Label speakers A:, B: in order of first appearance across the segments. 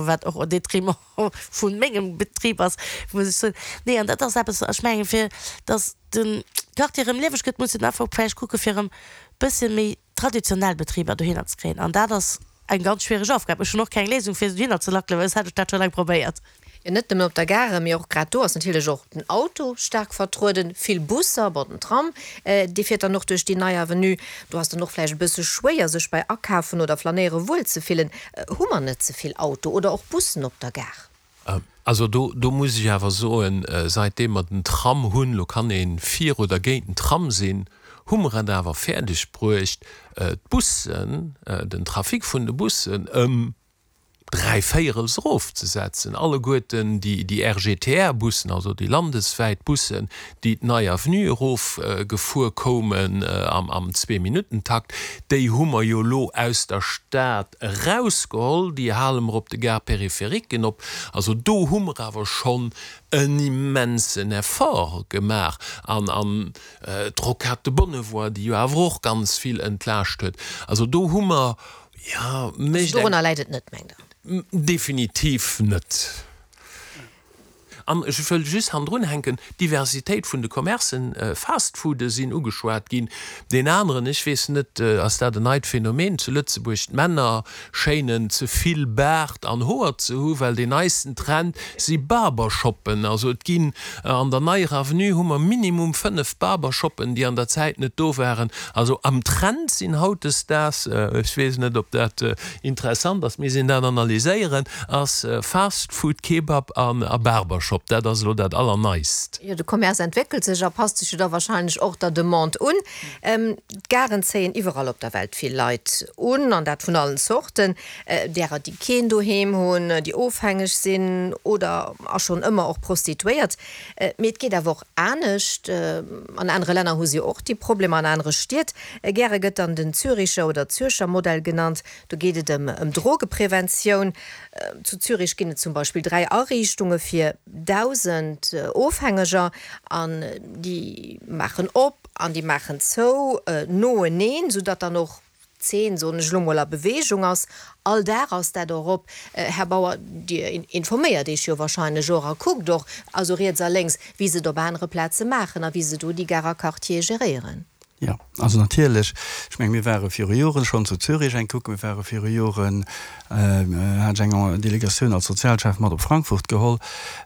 A: Wat och au détriment vu mengem Betrib ass, muss ech soen. Nee, an dat ass eppes, ech mengen, fir datt de Quartier erëm lieweg gëtt, muss een einfach vläicht kucke fir erëm bësse méi traditionell Betriber dohinner ze kréien. An dat ass eng ganz schwiereg Aufgab. Ech hunn och keng Léisung, fir se dohinner ze lackelen, well soss hätt ech dat scho laang probéiert.
B: Jo, net nëmmen op der Gare, mee och grad do ass natierlech och den Auto staark vertrueden, vill Busser, bon den Tram, dee fiert dann och duerch déi nei Avenue. Do ass dann och vläicht e bësse schwéier, sech bei Akafen oder Flanéiere wuel ze fillen. Hu mer net ze vill Auto oder och Bussen op der Gare?
C: Also do, do muss ech awer soen, säitdeem mer den Tram hunn, lo kann ee fir oder géint den Tram sinn, hu mer et awer fäerdeg bruecht, d'Bussen, den Trafic vun de Bussen ëm dräivéierels erofzesetzen. Alleguerten déi RGTR-Bussen, also déi landeswäit Bussen, déi d'Nei Avenue erofgefuer koumen am Zweeminuttentakt, déi hu mer jo elo aus der Stad erausgeholl, déi hale mer op de Gare-périphériquen op. Also do hu mer awer schonn en immensen Effort gemaach. An d'Rocade de Bonnevoie, déi jo awer och ganz vill entlaascht huet. Also do hu mer
B: Jo, mécht eng. Dorunner läit et net, mengt
C: Der? Definitiv net. An ech wëll just hannendrun hänken, d'Diversitéit vun de Commercen, Fast-Foode sinn ugeschwat ginn. Deen aneren, ech weess net, ass dat en neit Phänomen zu Lëtzebuerg, d'Männer schéinen ze vill Baart an Hoer ze hu well deen neisten Trend si Barbershoppen. Also et ginn an der Neier Avenue hu mer minimum 5 Barbershoppen, déi an der Zäit net do waren. Also am Trend sinn hautdesdaags, ech weess net ob dat interessant ass, misst een dat analyséieren, ass Fast Food, Kebab a Barbershop. Dat ass elo dat Allerneist.
B: Jo, de Commerce entwéckelt sech a passt sech jo da wahrscheinlech och der Demande un. D'Garen zéien iwwerall op der Welt vill Leit un, an dat vun allen Zorten, därer déi keen Doheem hunn, déi ofhängeg sinn oder a schonn ëmmer och Prostituéiert. Mee et geet awer och anescht. An anere Länner hu si och déi Problemer, an anere Stied. Gäre gëtt dann den Züricher oder Zürcher Modell genannt. Do geet et ëm Drogepreventioun. Zu Zürich ginn et zum Beispill 3 Ariichtunge fir 1.000 Ofhängeger. An déi maachen op an déi maachen zou noeneen, soudatt dann och D'Zeen, soen ech elo mol, a Beweegung ass. All Dag ass dat och op. Här Bauer, Dir informéiert Iech jo wahrscheinlech och a kuckt och, also riets a lénks, wéi se et op anere Plaze maachen a wéi se do déi Garer Quartiere geréieren.
D: Jo, also natierlech. Ech menge mir ware viru Joren schonn zu Zürich eng kucken. Mir ware viru Joren, hat ech eng Delegatioun als Sozialchef mat op Frankfurt geholl.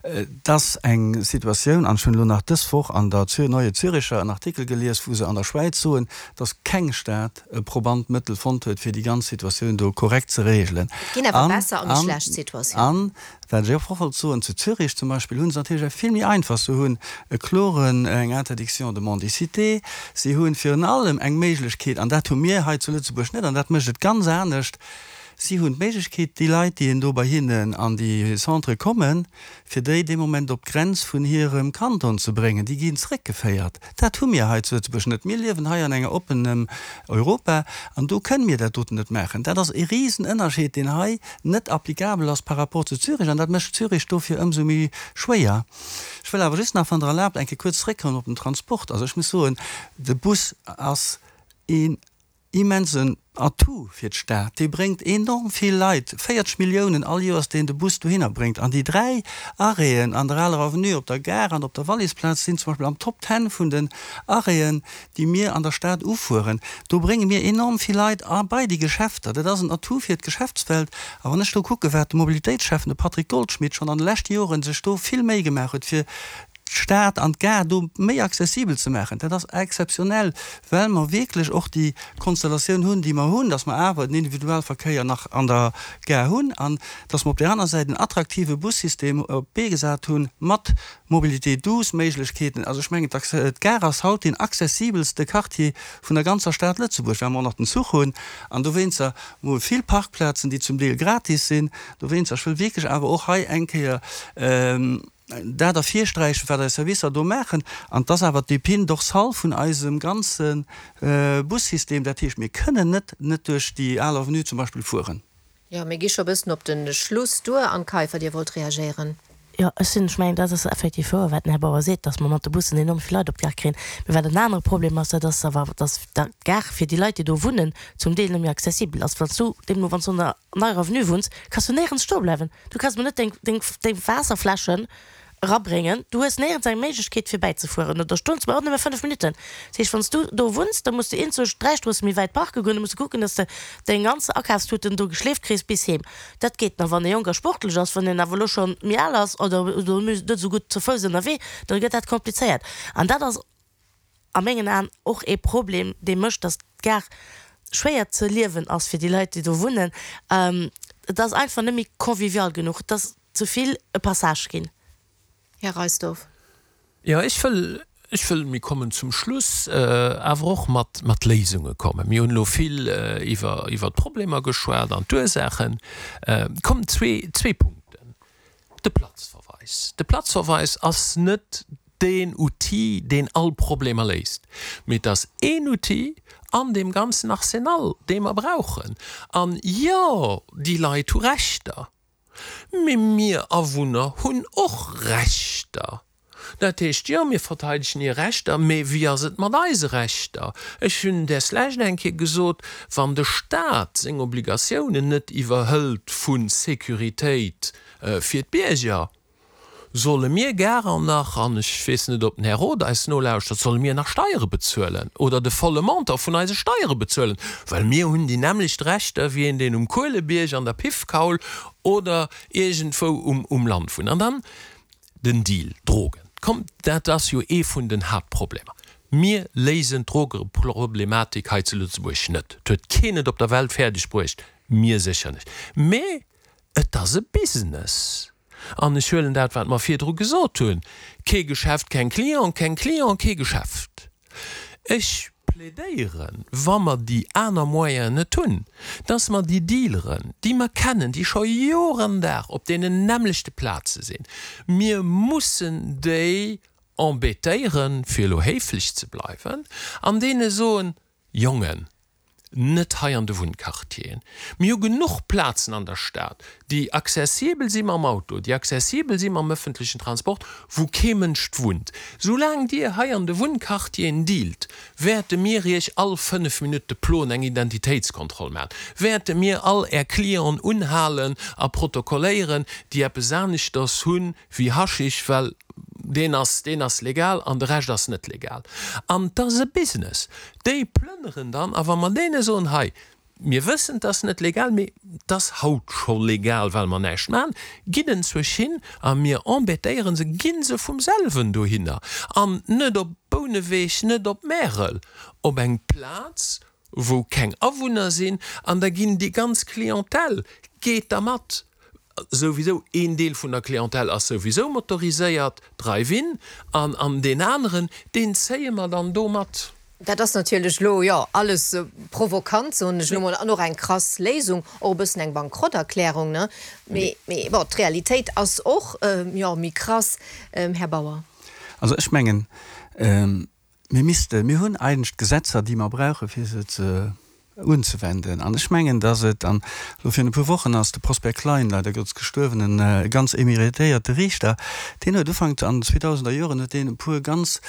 D: Et ass eng Situatioun, an ech hunn elo nach dës Woch an der Neue Züricher en Artikel gelies, wou se an der Schwäiz soen, dass keng Stad e probant Mëttel fonnt huet, fir déi ganz Situatioun do korrekt ze regelen.
B: Et ginn awer besser a méi schlecht Situatiounen.
D: An, wat ech och wollt soen, zu Zürich zum Beispill hu se natierlech eng vill méi einfach, se hunn e kloren, eng Interdiction de mendicité, se hu virun allem eng Méiglechkeet, an dat hu mir hei zu Lëtzebuerg net, an dat mécht et ganz anescht, si hunn d'Méiglechkeet, déi Leit, déi do bei hinnen an déi Centrë kommen, fir déi dee Moment op d'Grenz vun hirem Kanton ze bréngen, déi ginn zréckgeféiert. Dat hu mir hei zu Lëtzebuerg net. Mir liewen hei an enger oppenem Europa an do kënne mir dat doten net maachen. Dat ass e Risenënnerscheed, deen hei net applicabel ass par rapport zu Zürich an dat mécht Zürich dofir ëmsou méi schwéier. Ech wëll awer just nach, wann Der erlaabt, eng Kéier kuerz zréckkommen op den Transport. Also ech muss soen, de Bus ass een Immensen Atout fir d'Stad. Dee bréngt enorm vill Leit, 40 Milliounen all Joers, deen de Bus dohinner bréngt. An déi 3 Arrêten an der Aler Avenue, op der Gare an op der Wallisplaz sinn zum Beispill am Top Ten vun den Arrêten, déi mir an der Stad ufueren. Do brénge mir enorm vill Leit a bei déi Geschäfter. Dat ass en Atout fir d'Geschäftswelt. A wann ech do kucke wat de Mobilitéitsschäffen, de Patrick Goldschmidt, schonn an de leschte Joren sech do vill Méi gemaach huet fir d'Stad an d'Gare do méi accessibel ze maachen, dat ass exzeptionell, well mer wierklech och déi Konstellatioun hunn, déi mer hunn, dass mer awer den Individualverkéier nach an der Gare hunn an dass mer op där aner Säit en attraktive Bussystem op d'Bee gesat hunn mat Mobilité douce Méiglechkeeten. Also ech mengen, d'Gare ass haut deen accessibelste Quartier vun der ganzer Stad Lëtzebuerg, well mer och nach den Zuch hunn an dowéinster mol vill Parkplazen, déi zum Deel gratis sinn. Dowéinster, ech wëll wierklech awer och hei eng Kéier, dat ervirsträichen, wat eis Servicer do maachen, an et ass awer d'Épine dorsale vun eisem ganze Bussystem. Dat heescht, mir kënnen net net duerch déi al Avenue zum Beispill fueren.
B: Jo, mir gi scho e bëssen op de Schluss duer. Anne Kaiffer, Dir wollt reagéieren.
A: Jo, ech sinn, ech mengen, dat ass effektiv wouer, wat den Här Bauer seet, dass mer mat de Bussen enorm vill Leit op d'Gare kréien. Mee wat en anere Problem ass, dat ass awer, dass d'Gare fir déi Leit, déi do wunnen, zum Deel net méi accessibel ass. Wann s du deemno, wann s du an der Neier Avenue wunns, kanns du néierens stoe bleiwen. Du kanns mol net deng, deng, deng Waasserfläschen erabréngen. Du hues néierens eng Méiglechkeet fir bäizefueren oder stoen ze bleiwen, och nëmme 5 Minutten. Dat heescht, wann s du do wunns, da muss du eenzosch 3 Stroosse méi wäit parke goen, da muss du kucken, dass de deng ganz Akafstuten do geschleeft kriss bis heem. Dat geet nach, wann ee jonk a sportlech ass. Wann een awer elo scho méi al ass oder net esou gutt zu Fouss ënnerwee, da gëtt dat komplizéiert. An dat ass a mengen Aen och ee Problem, dee mécht, dass d'Gare schwéier ze liewen ass fir déi Leit, déi do wunnen. Et ass einfach net méi convivial genuch. Et ass ze vill e Passage ginn.
B: Här Reisdorf.
C: Jo, ech wëll, ech wëll, mir kommen zum Schluss, awer och mat, mat Léisunge kommen. Mir hunn elo vill iwwer, iwwer d'Problemer geschwat an d'Ursaachen. Kommen zwee, zwee Punkten. De Platzverweis. De Platzverweis ass net deen Outil, deen all Problemer léist, mee et ass een Outil an deem ganzen Arsenal, dee mer brauchen. An jo, déi Leit hu Rechter. Mee mir Awunner hunn och Rechter. Dat heescht, jo, mir verteidegen hir Rechter, mee wéi ass et mat eise Rechter? Ech hunn deslescht eng Kéier gesot, wann de Stat seng Obligatiounen net iwwerhëlt vu Sécuritéit fir d'Bierger, Solle mir garer nach, an ech weess net, ob den Här Roth eis nolauschtert, solle mir nach Steiere bezuelen oder de volle Montant vun eise Steiere bezuelen? Well mir hunn déi nämmlecht Rechter wéi een, deen um Kuelebierg, an der Piffkaul oder iergendwou um um Land wunnt. An dann den Deal Drogen. Kommt, dat ass jo ee vun den Haaptproblemer. Mir léisen d'Drogeproblematik hei zu Lëtzebuerg net. Et huet keen et op der Welt fäerdeg bruecht, mir sécher net. Mä et ass e Business. An ech huelen dat, wat mer virdru gesot hunn, Kee Geschäft, keng Client, keng Client, kee Geschäft. Ech plädéieren, wa mer déi aner Moyenen net hunn, dass mer déi Dealeren, déi mer kennen, déi scho Jor an Dag op deenen nämmlechte Plaze sinn, mir mussen déi embêtéieren, fir elo héiflech ze bleiwen, an deene soen, Jongen, net hei an de Wunnquartieren. Mir hu genuch Plazen an der Stad, déi accessibel si mam Auto, déi accessibel si mam öffentlichen Transport, wou kee Mënsch wunnt. Soulaang Dir hei an de Wunnquartieren dealt, wäerte mir Iech all 5 Minutte ploen, eng Identitéitskontroll maachen, wäerte mir all Är Clienten unhalen a protokolléieren, déi eppes aneschters hunn wéi Haschisch, well deen ass, deen ass legal an de Rescht ass net legal. An 't ass e Business. Déi plënneren dann, a wa mer deene soen, hei, mir wëssen, 't ass net legal, mee 't ass haut scho legal, well mer näischt maachen, gitt enzwousch hin a mir embêtéiere se, gi se vum selwen dohinner an net op Bouneweg, net op Märel, op eng Plaz, wou keng Awunner sinn, an da ginn déi ganz Clientèle geet da mat. Souwisou, een Deel vun der Clientèle ass souwisou motoriséiert, Drive-in, an an deen aneren, deen zéie mer dann do mat.
B: Dat ass natierlech elo, jo, alles provokant, soen ech elo mol, an och eng krass Léisung, och e bëssen eng Bankrotterklärung, ne? Mee, mee bon, d'Realitéit ass och, jo, méi krass, Här Bauer.
D: Also ech mengen, Mir missten, mir hunn eigentlech d'Gesetzer, déi mer brauchen, fir se ze unzewenden. An ech mengen, dass et, an elo virun e puer Wochen ass de Prosper Klein, leider Gottes gestuerwen, e ganz emeritéierte Riichter, deen huet Ufank an den zweetausender Joren huet deen e puer ganz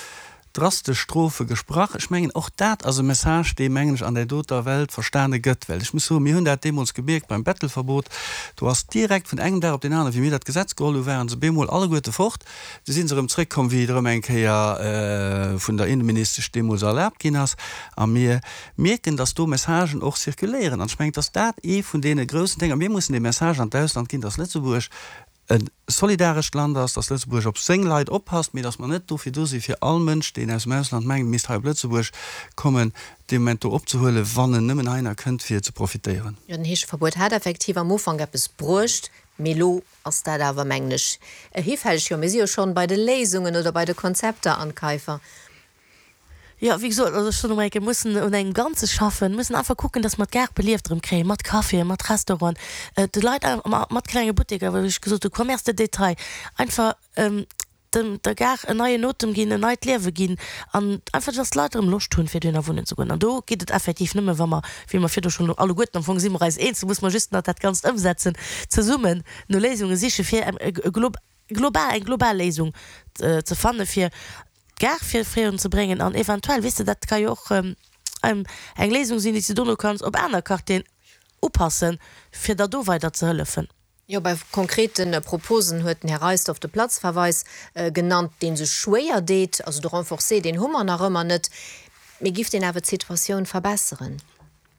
D: drastesch Strofe gesprach. Ech mengen, och dat ass e Message, dee, mengen ech, an där doter Welt verstane gëtt. Well ech muss soen, mir hunn dat deemools gemierkt beim Bettelverbot, do ass direkt vun engem Dag op deen aneren, wéi mir dat Gesetz geholl hu waren se bemol alleguerte fort. Du sinn se erëm zréckkomm, wéi et erëm eng Kéier vun der Inneministesch deemools erlaabt ginn ass. A mir mierken, dass do Messagen och zirkuléieren. An ech mengen, dass dat ee vun deene groussen Dénger, mir mussen dee Message an d'Ausland ginn, dass Lëtzebuerg e solidarescht Land ass, dass Lëtzebuerg op seng Leit oppasst, mee dass mer net dofir do si fir all Mënsch, deen aus dem Ausland mengt, misst hei op Lëtzebuerg kommen, dee Moment do opzehuelen, wann en nëmmen heihinner kënnt, fir ze profitéieren.
B: Jo, den Heescheverbuet hat effektiv am Ufank eppes bruecht, mee elo Ass dat awer, mengen ech, hifälleg. Jo, mir si jo schonn bei de Léisungen oder bei de Konzepter, Anne Kaiffer.
A: Jo, wéi gesot, also ech soen emol eng Kéier, mir mussen un engem Ganze schaffen, mir mussen einfach kucken, dass mer d'Gare belieft erëm kréien, mat Caféen, mat Restauranten, de Leit, mat klenge Butteker, wéi ech gesot hu, Commerce de détail, einfach dem der Gare en neien Otem ginn, en neit Liewe ginn an einfach, dass d'Leit erëm Loscht hunn, fir dohinner wunnen ze goen. An do geet et effektiv nëmme, wa mer, wéi mer virdu schonn alleguerten, am Fong si mer eis eens, do muss mer just nach dat Ganzt ëmsetzen, zesummen no Léisunge sichen, fir e. global, eng global Léisung ze fanne fir d'Gare fir virun ze bréngen an eventuell, weess de, dat ka jo och eng Léisung sinn, déi s de dono kanns op aner Quartieren upassen, fir der do weider ze hëllefen.
B: Jo, bei konkrete Proposen huet den Här Reisdorf de Platzverweis genannt, dee sech schwéier deet. Also de Renforcé, deen hu mer nach ëmmer net. Mee giff deen awer d'Situatioun verbesseren?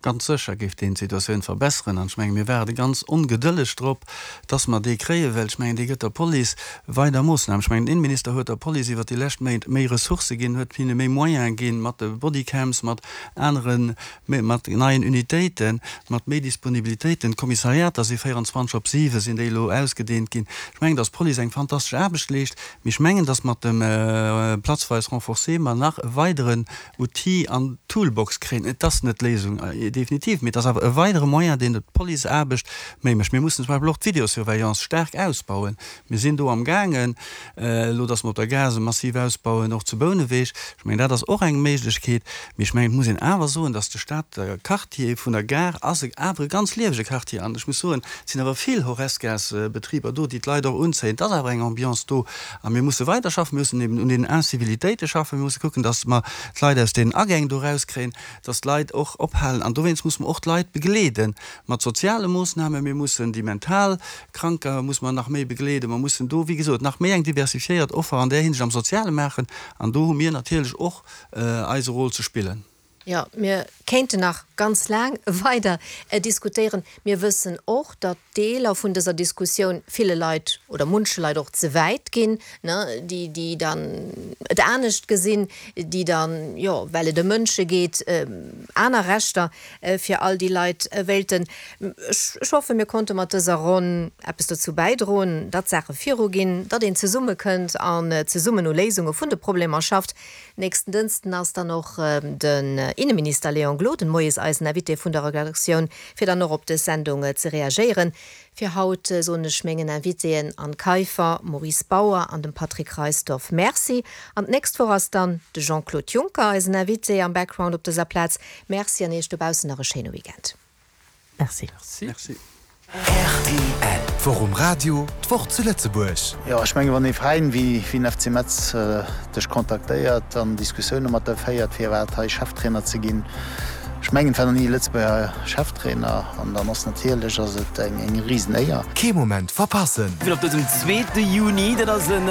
D: Ganz sécher géif deen d'Situatioun verbesseren. An ech menge mir waarde ganz ongedëlleg drop, dass mer dee kréien, well ech mengen, dee gëtt der Police weider Moossnamen. Ech mengen, den Innenminister huet der Police iwwert déi lescht Méint méi Ressourcë ginn, huet hinne méi Moyene ginn, mat de Bodycams, mat anere, mat neien Unitéiten, mat méi Disponibilitéiten. D'Kommissariater si 24 op 7 sinn déi elo ausgedehnt ginn. Ech mengen, dass d'Police eng fantastesch Aarbecht leescht, mee ech mengen, dass mat dem Platzverweis renforcé mer nach e weideren Outil an d'Toolbox kréien. Et ass net d'Léisung, definitiv, mee et ass awer e weidere Moyen, deen d'Policeaarbecht méi mécht. Mir mussen zum Beispill och d'Videosurveillance staark ausbauen. Mir sinn do amgaangen, elo datt mer op der Gare se massiv ausbauen, och zu Bouneweg. Ech mengen, dat ass och eng Méiglechkeet. Mee ech mengen, et muss een awer soen, datt de Stater Quartier vun der Gare ass awer e ganz liewege Quartier. An ech muss soen, et sinn awer vill Horescas-Betriber do, déi d'Leit och unzéien. Et ass awer eng Ambiance do. A mir musse weiderschaffen. Mir mussen eben un deenen Incivilitéite schaffen. Mir musse kucken, datt mer d'Leit aus deenen Agäng do erauskréien, datt d'Leit och ophalen. An dowéinst musse mer och d'Leit begleede mat soziale Moossnamen. Mir mussen déi mental Kranker musse mer nach méi begleeden. Mer mussen do, wéi gesot, nach méi eng diversifiéiert Offer an där Hinsicht am Soziale maachen. An do hu mir natierlech och eise Rôle ze spillen.
B: Jo, mir kéinten nach ganz laang weider diskutéieren. Mir wëssen och, datt Deeler vun dëser Diskussioun ville Leit oder munche Leit och ze wäit ginn, déi, déi dann et anescht gesinn, déi dann, jo, well et ëm Mënsche geet, aner Rechter fir all déi Leit wéilten. Ech hoffen, mir konnte mat dëser Ronn eppes dozou bäidroen, datt d'Saache viruginn, datt een zesummekënnt an zesummen u Léisunge vun de Problemer schafft. Nächsten Dënsten ass dann och den Inneminister Léon Gloden moies eisen Invité vun der Redaktioun, fir dann och op dës Sendung ze reagéieren. Fir haut soen ech mengen Invitéen Anne Kaiffer, Maurice Bauer an dem Patrick Reisdorf Merci. An d'nächst Woch ass dann de Jean-Claude Juncker eisen Invité am Background op dëser Plaz. Merci an Iech dobaussen nach e schéine Weekend.
A: Merci.
D: Merci.
E: Rtl. D'Woch um Radio, d'Woch zu Lëtzebuerg.
F: Jo, ech mengen, wann ee Veräin wéi den FC Metz dech kontaktéiert an Diskussioune mat der féiert, firwat hei Cheftrainer ze ginn, ech mengen, et war nach ni e Lëtzebuerger Cheftrainer an dann ass natierlech ass et eng Risenéier.
E: Kee Moment verpassen!
G: Op dësem zweete Juni, dat ass en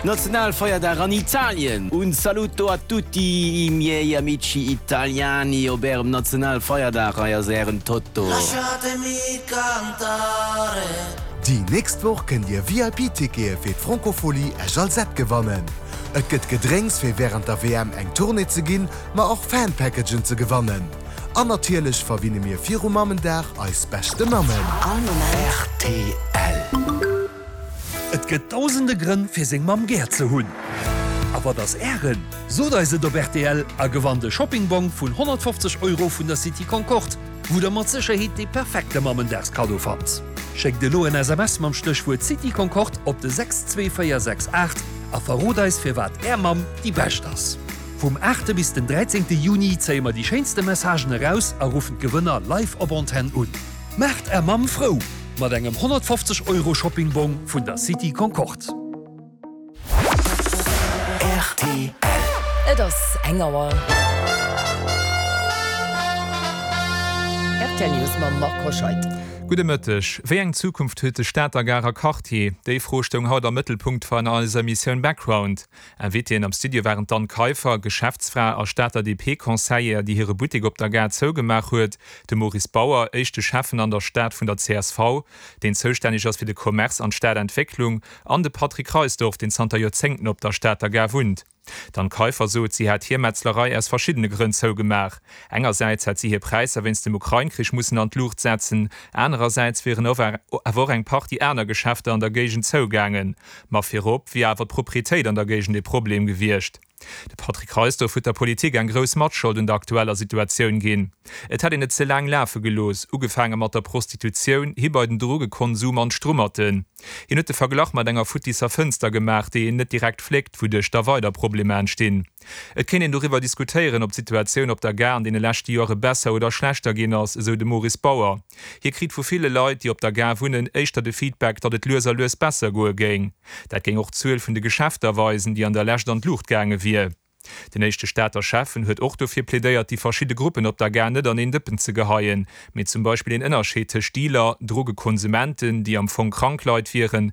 G: Nationalfeierdag an Italien. Un saluto a tutti i miei amici italiani op ärem Nationalfeierdag. Hei ass ären Toto.
E: Déi nächst Woch kënnt Dir VIP-Tickete fir d'Francophonie Esch-Alzette gewannen. Et gëtt Gedrénks fir wärend der WM eng Tournée ze ginn, ma och Fan-Packagen ze gewannen. An natierlech verwinne mir viru Mammendag eis beschte Mammen.
H: Rtl.
I: Et gëtt dausende Grënn fir seng Mamm gär ze hunn. A wat ass Ären? Sot eis et op rtl a gewannt e Shoppingbong vun 150 Euro vun der City Concorde, wou der mat Sécherheet dee perfekte Mammendagskaddo fannt. Schéckt elo en SMS mam Stéchwuert City Concorde op de 62468 a verrot eis firwat Är Mamm déi bescht ass. Vum 8 bis den 13 Juni zéie mer déi schéinste Messagen eraus a ruffen d'Gewënner live op Antenn un. Maacht Är Mamm frou mat engem 150 Euro Shoppingbong vun der City Concorde.
H: Rtl.
J: Et ass eng Auer. Rtl News mam Marc Hoscheid.
K: Gudde Mëtteg. Wéi eng Zukunft huet de Stater Garer Quartier? Déi Fro stoung haut am Mëttelpunkt van eiser Emissioun Background. Invitéen am Studio waren d'Anne Kaiffer, Geschäftsfra a Stater DP-Conseillère, déi hire Buttek op der Gare zougemaach huet, de Maurice Bauer, éischte Schäffen an der Stad vun der csv, deen zoustänneg ass fir de Commerce an d'Stadentwécklung, an de Patrick Reisdorf, deen zanter Joerzéngten op der Stater Gare wunnt. D'Anne Kaiffer sot, si hätt hir Metzlerei aus verschiddene Grënn zougemaach. Engersäits hätt si hir Präisser wéinst dem Ukrain-Krich mussen an d'Luucht setzen, anerersäits wieren awer och eng Partie aner Geschäfter an der Géigend zougaangen. Ma virop wier awer d'Proprietéit an der Géigend ee Problem gewiescht. De Patrick Reisdorf huet der Politik eng grouss Matschold un der aktueller Situatioun ginn. Et hätt een et ze laang lafe gelooss, ugefaange mat der Prostitutioun, hi bei den Drogekonsum an d'Strummerten. Hien huet de Verglach mat enger futtisser Fënster gemaach, déi een net direkt fléckt, wouduerch da weider Problemer entstinn. Et kéint een doriwwer diskutéieren, ob d'Situatioun op der Gare an deene leschte Joere besser oder schlechter ginn ass, esou de Maurice Bauer. Hie kritt vu ville Leit, déi op der Gare wunnen, éischter de Feedback, datt et lues a lues besser goe géing. Dat géing och d'Zuel vun de Geschäfter weisen, déi an der Lescht an d'Luucht gaange wier. Den éischte Stater Schäffen huet och dofir plädéiert, déi verschidde Gruppen op der Gare net an een Dëppen ze geheien, mee zum Beispill een Ënnerscheed tëscht Dealer, Drogekonsumenten, déi am Fong krank Leit wieren.